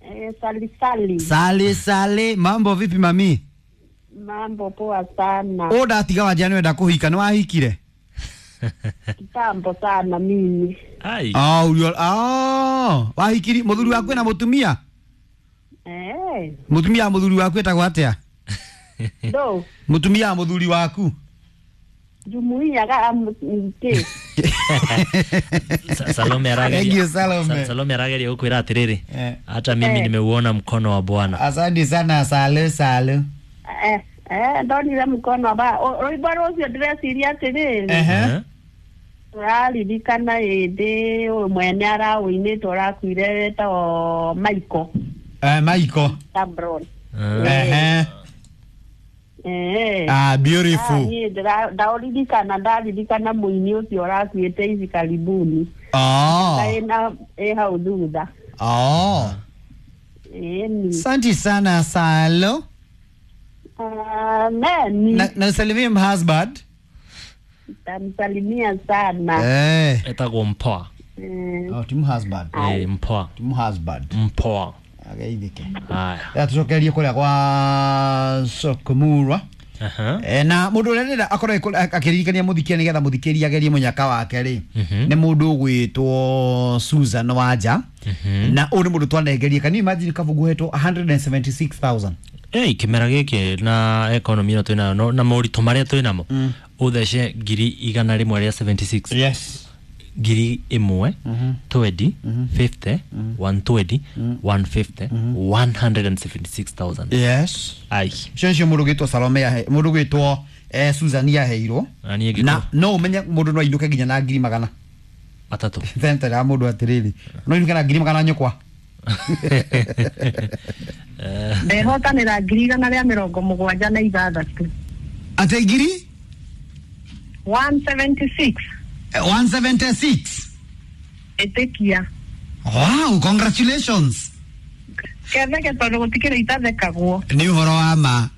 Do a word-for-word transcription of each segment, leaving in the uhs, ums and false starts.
Eh, sali sali. Sali sali, mambo vipi mami? Mambo poa sana. Å ndatiga wanja nä wenda kå hika nä wahikire? Kitambo sana mimi. Ai. Oh, ulio- oh, wahikiri må thuri waku na må tumia? Eh, Må tumia wa må thuri waku etagwo atä a? do Må tumia wa må thuri waku? jumuiya ga mke. Sa- Salome Thank arageria. you, Salome. Sa- Salome arageria gukwira atiriri. Eh. Hata mimi Eh. nimeuona mkono wa Bwana. Asante sana sale sale. Eh, eh ndonire mkono ba rwimbo rũcio ndĩreciria atĩrĩrĩ Ehe. Eh? tũraririkana hĩndĩ ũyũ mwene araũinĩte ũrakuire wĩtagwo Michael Eh, Michael. Cabron. Eh. Ehe. Eh. Ah, Ah, beautiful. niĩ ndĩra- ndaũririkana ndaririkana mũini ũcio ũrakuĩte hivi karibuni. Oh. Ĩna ĩ hau thutha. Oh. Ĩni. Asante sana Salo. Amen. Na, na salimie husband. Tamsalimia sana. Eh. Etagwo mpoa. Eh, Oh, timu husband. Eh, mpoa. Timu husband. Mpoa. Ageithike. Haya. Ya tucokerie kuria kwa Sokomurwa. Aha. E, na mundu uria ndĩrenda akorwo akĩ- akĩririkania mũthikia nĩgetha mũthikĩria agerie mũnyaka wake rĩ Mhm. nĩ mũndũ ũgwĩtwo Susan Wanja Mhm. na ũyũ nĩ mũndũ twanengerie can you imagine kabungu hetwo one hundred seventy-six thousand Ei, kĩmera gĩkĩ na economy ĩno twĩnayo no- na moritũ marĩa twĩnamo ũthece ngiri igana rĩmwe rĩa seventy-six yes ngiri ĩmwe twenty fifty one twenty one fifty one hundred and seventy-six thousand. yes Ai. icio nĩcio mũndũ ũgwĩtwo Salome yahe mũndũ ũgwĩtwo eh, Susan yaheirwo Na niĩ ngĩkorwo- na no ũmenye mũndũ no ainũke nginya na ngiri magana matatũ. tentera ya mũndũ atĩrĩrĩ no ainũke na ngiri magana nyũkwa ndehotanĩra ngiri igana rĩa mĩrongo mũgwanja na ithathatũ atĩ ngiri one seventy six eh, one seventy-six ĩtĩkia wow congratulations ketheke tondũ gũtikĩrĩ itathekagwo nĩ ũhoro wa ma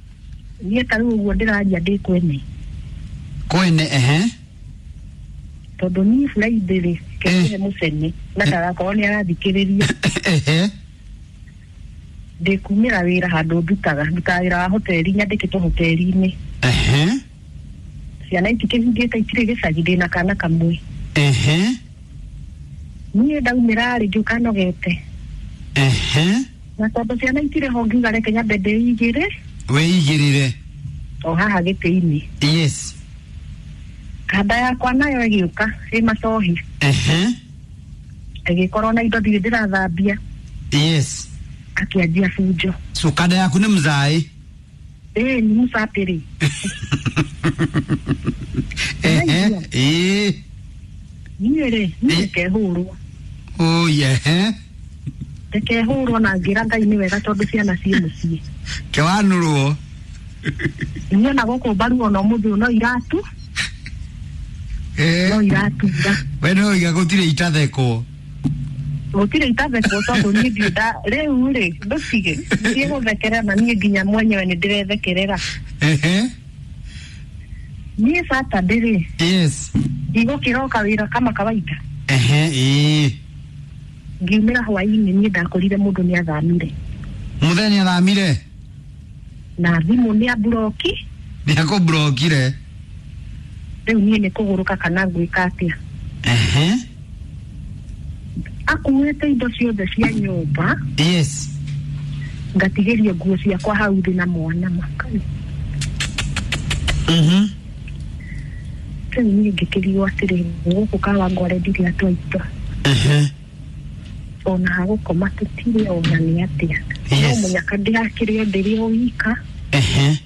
niĩ ta rĩu ũguo ndĩraria ndĩ kwene kwene ehe tondũ niĩ Friday rĩ ketheke mũcene na ndagakorwo nĩ arathikĩrĩria ehe ndĩkumĩra wĩra handũ ndutaga ndutaga wĩra wa hoteri nyandĩkĩtwo hoteri-inĩ ehe ciana itikĩhingĩte itirĩ gĩcagi ndĩna kana kamwe ehe niĩ ndaumĩra rĩ ngĩũka nogete ehe na tondũ ciana itirĩ ho ngiuga reke nyambe ndĩigĩre wĩigĩrĩre o haha gĩtĩ-inĩ yes kanda yakwa nayo ĩgĩũka ĩ macohi ehe ĩgĩkorwo na indo ndirĩ ndĩrathambia yes akĩanjia bunjo so kanda yaku nĩ mzaĩ ĩĩ nĩ mũcapĩrĩ ehe ĩĩ niĩ rĩ niĩ ndekehũrwo oi ehe ndekehũrwo na ngĩra Ngai nĩ wega tondũ ciana ciĩ mũciĩ kĩwanũrwo niĩ ona gũkũ mbaru ona ũmũthĩ ũyũ no iratu Eh. no iratura we no iga gũtirĩ itathekwo gũtirĩ itathekwo tondũ niĩ ndirĩ nda rĩu rĩ ndũtige thiĩ gũthekerera na niĩ nginya mwenyewe nĩ ndĩrethekerera ehe niĩ Saturday rĩ yes ndigũkĩroka wĩra kama kawaida ehe ĩĩ ngiumĩra hwainĩ niĩ ndakorire mũndũ nĩ athamire mũthenya athamire na thimũ nĩ amburoki nĩ akũmburokire rĩu niĩ nĩ kũgũrũka kana ngwĩka atĩa ehe akuĩte indo ciothe cia nyũmba yes ngatigĩrio nguo ciakwa hau thĩ na mwana makai mhm rĩu niĩ ngĩkĩrigwo atĩrĩ gũkũ Kawangware ndirĩ atwaitwa ehe ona hagũkoma tũtirĩ ona nĩ atĩa no Yes. mũnyaka ndĩrakĩrĩ o ndĩrĩ o wika ehe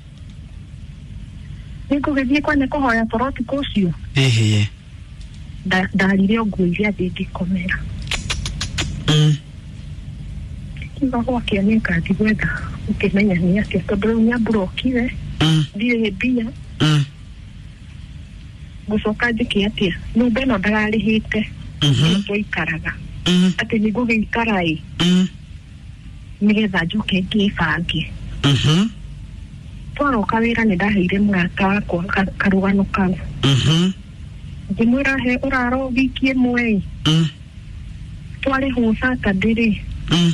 nĩngũgĩthiĩ kwene kũhoya toro ũtukũ ũcio ehe Nda- ndarire o nguo iria ndĩngĩkomera mm kiuga gwakĩa nĩngathiĩ gwetha ũkĩmenya nĩ atĩa tondũ rĩu nĩamburokire mm ndirĩ mbia mm ngũcoka njĩke atĩa nyũmba ĩno ndararĩhĩte mhm ĩno twaikaraga mm atĩ nĩngũgĩikara ĩ mm nĩgetha njoke ngĩbange mhm twaroka wĩra nĩ ndaheire mũrata wakwa ka- karũgano kau mhm ngĩmwĩra he ũraro wiki ĩmwe ĩ mm twarĩhwo Saturday rĩ mm